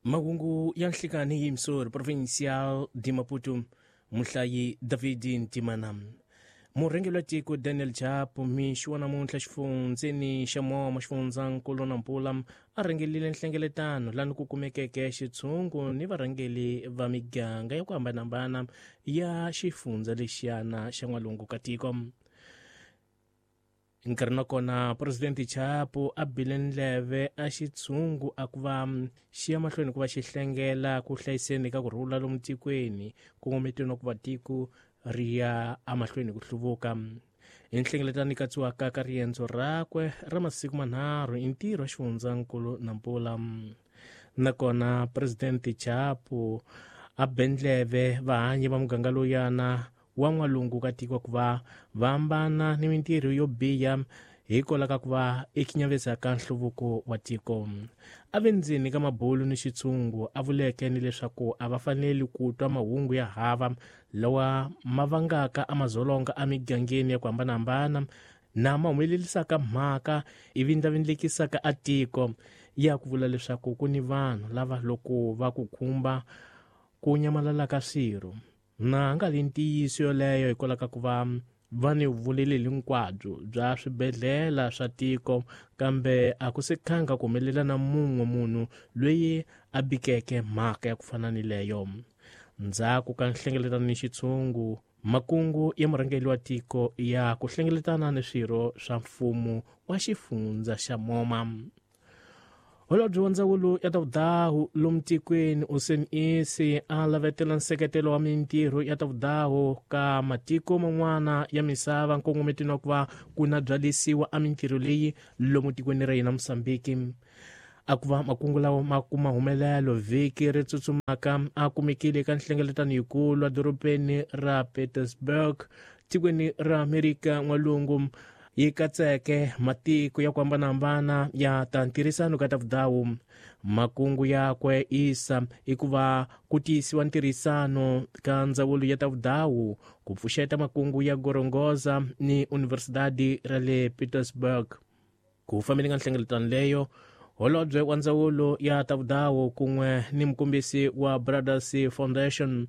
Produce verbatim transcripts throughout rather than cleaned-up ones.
Mahungu ya nhlikani hi Msori Provincial de Maputo, muhlayi David Ntimana. Murhangeri wa tiko Daniel Chapo mixo wa namuntlha xifundzeni xa Moma xifundzankulu Nampula a rhangelile nhlengeletano lani ku kumekeke xitshungu ni varhangeli va miganga ya ku hambanahambana ya xifundza lexiyana xa n'walungu ka tiko. Nkarhi na kona Presidente Chapo a bile ndleve a xitshungu a ku va xi ya mahlweni ku va xi hlengela ku hlayiseni ka ku rhula lomu tikweni kongometiwa ku va tiko ri ya emahlweni ku hluvuka. Hi nhlengeletano yi katsiwaka ka riendzo rakwe ra masiku manharhu i ntirho wa xifundzankulu Nampula. Nakona Presidente Chapo a be ndleve vahanyi va muganga lowuyana wa n'walungu ka tiko ku va va hambana ni mintirho yo biha hikwalaho ka ku va i khinyavesaka nhluvuko wa tiko. A ve ndzeni ka mabulu ni xitshungu a vuleke ni leswaku a va faneli ku twa mahungu ya hava lawa ma vangaka amazolonga emigangeni ya ku hambanahambana na ma humelelisaka mhaka ivi ndlavindlekisaka a tiko ya ku vula leswaku ku ni vanhu lava loko va ku khumba ku nyamalala ka swirho. Na nga li ntiyiso yoleyo hikwalaho ka ku va va ni vuleleli hinkwabyo bya swibedhlele swa tiko, kambe a ku se khanga ku humelela na mun'we munhu loyi a bikeke mhaka ya ku fana ni leyo. Ndzhaku ka nhlengeletano ni xitshungu, makungu ya murhangeri wa tiko ya ku hlengeletana ni swirho swa mfumo wa xifundza xa Moma. Holobye wa ndzawulo ya ta vudahu lomu tikweni Usain Isi a lavetela nseketelo wa mintirho ya ta vudahu ka matiko man'wana ya misava nkongometweni wa ku va ku na byalisiwa a mintirho leyi lomu tikweni ra hina Mozambique. A ku va makungu lawa ma kuma humelelo vhiki ri tsutsumaka a kumekile eka nhlengeletano yikulu edorobeni ra Petersburg tikweni ra Amerika n'walungu yi katseke matiko ya ku hambanahambana ya ta ntirhisano ka ta vudawu. Makungu yakwe Isa i ku va ku tiyisiwa ntirhisano ka ndzawulo ya ta vudawu ku pfuxeta makungu ya Gorongosa ni Universidade ra le Petersburg. Ku fambeni ka nhlengeletano leyo, holobye wa ndzawulo ya ta vudawu kun'we ni mukombisi wa Brothers Foundation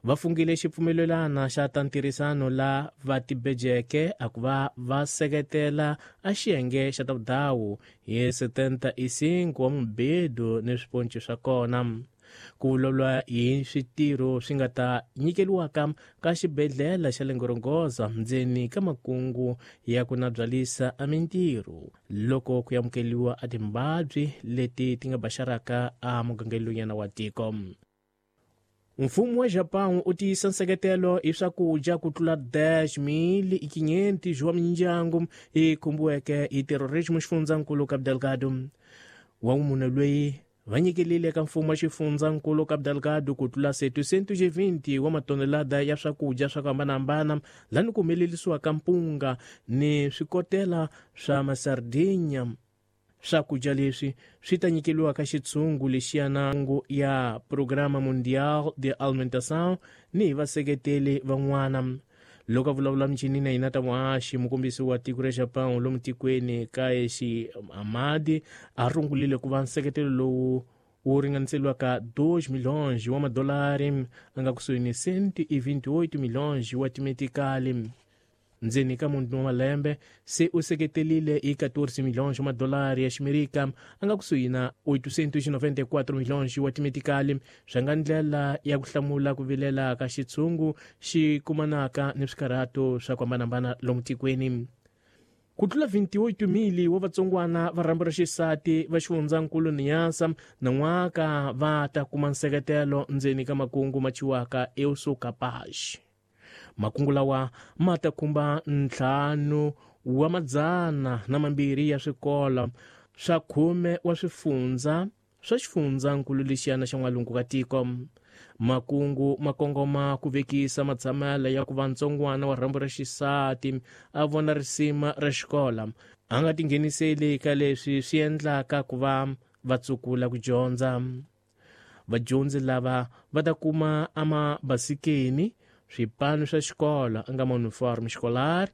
va fungile xipfumelelana xa ta ntirhisano la va tibejeke a ku va va seketela a xiyenge xa ta vudawu hi setenta e cinco wa mibedo ni swiponci swa kona. Ku vulavula hi switirho swi nga ta nyikeliwaka ka xibedhlele xa le Gorongosa ndzeni ka makungu ya ku na byalisa a mintirho loko ku amukeliwa a timbabyi leti ti nga baxaraka a mugangeni lowuyana wa tiko. Mfumo wa Japão u tiyisa nseketelo hi swakudya ku tlula dez mil e quinhentos wa mindyangu yi khumbiweke hi terrorismo xifundzankulu Cabo Delgado. Wa munhu loyi va nyikelile eka mfumo wa xifundzankulu Cabo Delgado ku tlula setecentos e vinte wa matonelada ya swakudya swa ku hambanahambana lani ku humelerisiwaka mpunga ni swikotela swa masardinya. Swakudya leswi swi ta nyikeliwa ka xitshungu lexiyana ya Programa Mundial de Alimentação ni hi vaseketeli van'wana. Loko a vulavula michini na hina ta muhaxi, mukombisi wa tiko ra Japão lomu tikweni Kaeshi Amadi a rungulile ku va nseketelo lowu wu ringaniseliwaka dois milhões wa madolari a nga kusuhi ni cento e vinte e oito milhões wa timetikali. Ndzeni ka munhu wa malembe se u seketelile hi quatorze milhões wa madolari ya ximerika a nga kusuhi na oitocentos e noventa e quatro milhões wa timetikali swa nga ndlela ya ku hlamula ku vilela ka xitshungu xi kumanaka ni swikarhato swa ku hambanahambana lomu tikweni. Ku tlula vinte e oito mil wa vatsongwana va rhambu ra xisati va xifundzankulu Niassa nan'waka va ta kuma nseketelo ndzeni ka makungu ma chiwaka Eu Sou Capaz. Makungu lawa ma ta khumba ntlhanu wa madzana na mambirhi ya swikolo swa khume wa swifundza swa xifundzankulu lexiyana xa n'walungu ka tiko. Makungu ma kongoma ku vekisa matshamelo ya ku va ntsongwana wa rhambu ra xisati a vona risima ra xikolo a nga tingheniseli ka leswi swi endlaka ku va va tsukula ku dyondza. Vadyondzi lava va ta kuma amabasikeni swipano swa xikolo a nga mauniforme escolar,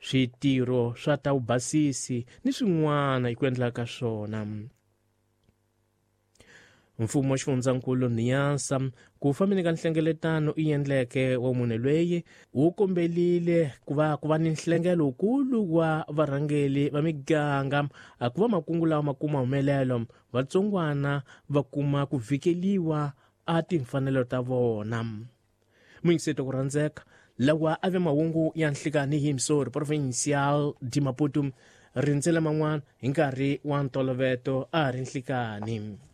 switirho swa ta vubasisi ni swin'wana hi ku endla ka swona. Mfumo wa xifundzankulu Niassa ku fambeni ka nhlengeletano i endleke wa munhu loyi wu kombelile ku va ku va ni nhlengelo wukulu wa varhangeli va miganga ku va makungu lawa ma kuma humelelo vatsongwana va kuma ku vhikeliwa a timfanelo ta vona. Muyingiseto ku rhandzeka lawa a ve mahungu ya nhlikani hi Missouri Provincial di Maputo rindzela man'wana hi nkarhi wa ntoloveto a ri nhlikani.